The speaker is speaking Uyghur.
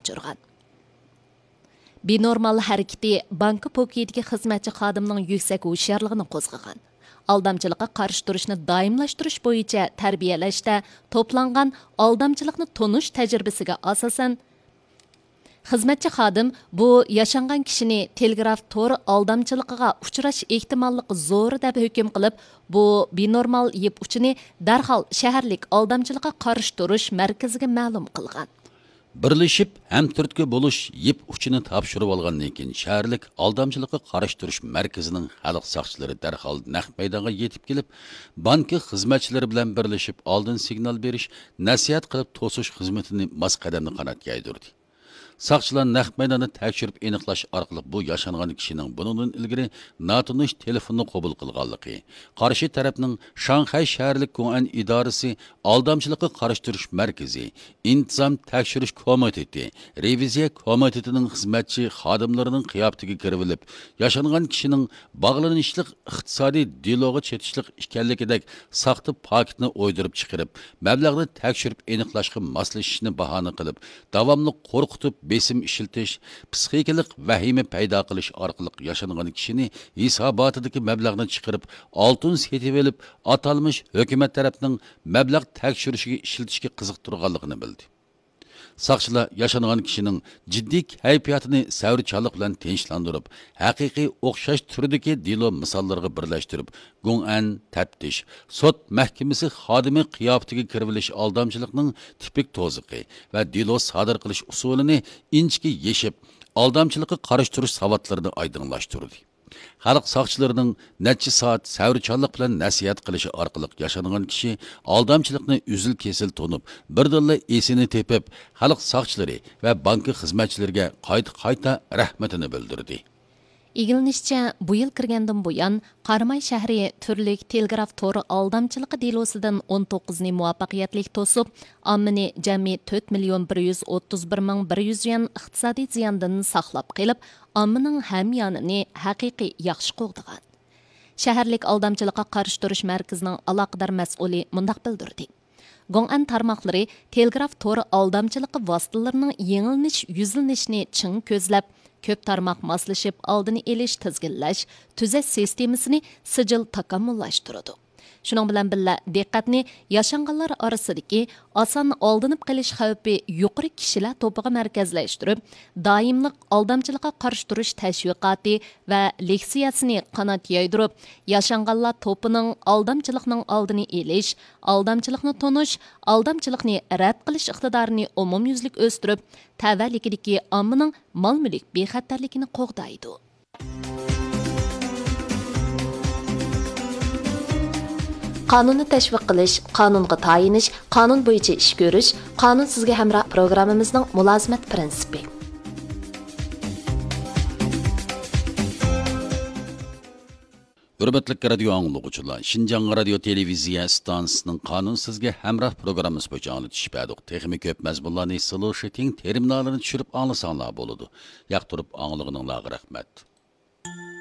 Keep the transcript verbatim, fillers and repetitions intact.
ئۇچرىغان. بىنورمال ھەرىكىتى بانكا پوكىيىدىكى خىزمەتچى خادىمنىڭ يۈكسەك ھوشيارلىقىنى قوزغىغان. ئالدامچىلىققا قارشى تۇرۇشنى دائىملاشتۇرۇش بويىچە تەربىيەلەشتە توپلانغان ئالدامچىلىقنى تونۇش تەجرىبىسىگە ئاساسەن، خىزمەتچى خادىم بۇ ياشانغان كىشىنى تېلېگراف تور ئالدامچىلىقىغا ئۇچراش ئېھتىماللىقى زور دەپ ھۆكۈم قىلىپ، بۇ بىنورمال يىپ ئۇچىنى دەرھال شەھەرلىك ئالدامچىلىققا قارشى تۇرۇش مەركىزىگە مەلۇم قىلغان. بىرلىشىپ ھەمتۈرتكە بولۇش يىپ ئۇچىنى تاپشۇرۇۋالغاندىن كېيىن، شەھەرلىك ئالدامچىلىققا قارشى تۇرۇش مەركىزىنىڭ خەلق ساقچىلىرى دەرھال نەق مەيدانغا يېتىپ كېلىپ، بانكا خىزمەتچىلىرى بىلەن بىرلىشىپ ئالدىن سىگنال بېرىش، نەسىھەت قىلىپ توسۇش خىزمىتىنى ماس قەدەمدە قانات يايدۇردى. ساقچىلار نەق مەيداندا تەكشۈرۈپ ئېنىقلاش ئارقىلىق بۇ ياشانغان كىشىنىڭ بۇنىڭدىن ئىلگىرى ناتونۇش تېلېفوننى قوبۇل قىلغانلىقى، قارشى تەرەپنىڭ شاڭخەي شەھەرلىك گوڭئەن ئىدارىسى ئالدامچىلىققا قارشى تۇرۇش مەركىزى، ئىنتىزام تەكشۈرۈش كومىتېتى، رېۋىزىيە كومىتېتىنىڭ خىزمەتچى خادىملىرىنىڭ قىياپىتىگە كىرىۋېلىپ، ياشانغان كىشىنىڭ باغلىنىشلىق ئىقتىسادىي دېلوغا چېتىشلىق ئىكەنلىكىدەك ساختا پاكىتنى ئويدۇرۇپ چىقىرىپ، مەبلەغنى تەكشۈرۈپ ئېنىقلاشقا ماسلىشىشنى باھانە قىلىپ، داۋاملىق قورقۇتۇپ بېسىم ئىشلىتىش، پسىخىكىلىق ۋەھىمە پەيدا قىلىش ئارقىلىق ياشانغان كىشىنى ھېساباتىدىكى مەبلەغنى چىقىرىپ، ئالتۇن سېتىۋېلىپ، ئاتالمىش ھۆكۈمەت تەرەپنىڭ مەبلەغ تەكشۈرۈشىگە ئىشلىتىشكە قىزىقتۇرغانلىقىنى بىلدى. ساقچىلار ياشانغان كىشىنىڭ جىددىي كەيپىياتىنى سەۋرچانلىق بىلەن تىنچلاندۇرۇپ، ھەقىقىي ئوخشاش تۈردىكى دېلو مىساللىرىغا بىرلەشتۈرۈپ، گوڭئەن تەپتىش، سوت مەھكىمىسى خادىمى قىياپىتىگە كىرىۋېلىش ئالدامچىلىقنىڭ تىپىك توزىقى ۋە دېلو سادىر قىلىش ئۇسۇلىنى ئىنچىكە يېشىپ، ئالدامچىلىققا قارشى تۇرۇش ساۋاتلىرىنى ئايدىڭلاشتۇردى. خەلق ساقچىلىرىنىڭ نەچچە سائەت سەۋرچانلىق بىلەن نەسىھەت قىلىشى ئارقىلىق ياشانغان كىشى ئالدامچىلىقنى ئۈزۈل-كېسىل تونۇپ، بىردىنلا ئېسىنى تېپىپ، خەلق ساقچىلىرى ۋە بانكا خىزمەتچىلىرىگە قايتا-قايتا رەھمىتىنى بىلدۈردى. ئىگىلىنىشىچە، بۇ يىل كىرگەندىن بۇيان، قاراماي شەھىرى تۈرلۈك تېلېگراف تورى ئالدامچىلىقى دېلوسىدىن ئون توققۇزنى مۇۋەپپەقىيەتلىك توسۇپ، ئاممىنى جەمئىي تۆت مىليون بىر يۈز ئوتتۇز بىر مىڭ بىر يۈز يۈەن ئىقتىسادىي زىياندىن ساقلاپ قېلىپ، ئاممىنىڭ ھەميانىنى ھەقىقىي ياخشى قوغدىغان. شەھەرلىك ئالدامچىلىققا قارشى تۇرۇش مەركىزىنىڭ ئالاقىدار مەسئۇلى مۇنداق بىلدۈردى: گوڭئەن تارماقلىرى تېلېگراف تورى ئالدامچىلىقى ۋاسىتىلىرىنىڭ يېڭىلىنىش، يۈزلىنىشىنى چىڭ كۆزلەپ، كۆپ تارماق ماسلىشىپ ئالدىنى ئېلىش، تىزگىنلەش، تۈزەش سىستېمىسىنى سىجىل تاكامۇللاشتۇرىدۇ. شۇنىڭ بىلەن بىللە، دىققەتنى ياشانغانلار ئارىسىدىكى ئاسان ئالدىنىپ قېلىش خەۋپى يۇقىرى كىشىلەر توپىغا مەركەزلەشتۈرۈپ، دائىملىق ئالدامچىلىققا قارشى تۇرۇش تەشۋىقاتى ۋە لېكسىيەسىنى قانات يايدۇرۇپ، ياشانغانلار توپىنىڭ ئالدامچىلىقنىڭ ئالدىنى ئېلىش، ئالدامچىلىقنى تونۇش، ئالدامچىلىقنى رەت قىلىش ئىقتىدارىنى ئومۇميۈزلۈك ئۆستۈرۈپ، تەۋەلىكىدىكى ئاممىنىڭ مال-مۈلۈك بىخەتەرلىكىنى قوغدايدۇ. قانۇننى تەشۋىق قىلىش، قانۇنغا تايىنىش، قانۇن بويىچە ئىش كۆرۈش، قانۇن سىزگە ھەمراھ پروگراممىمىزنىڭ مۇلازىمەت پىرىنسىپى. ھۆرمەتلىك رادىيو ئاڭلىغۇچىلار، شىنجاڭ رادىيو تېلېۋىزىيە ئىستانسىسىنىڭ قانۇن سىزگە ھەمراھ پروگراممىسى بويىچە ئاڭلىتىش بەردۇق. تېخىمۇ كۆپ مەزمۇنلارنى سلوشىتىڭ تېرمىنالىنى چۈشۈرۈپ ئاڭلىساڭلار بولىدۇ. ياقتۇرۇپ ئاڭلىغىنىڭلارغا رەھمەت.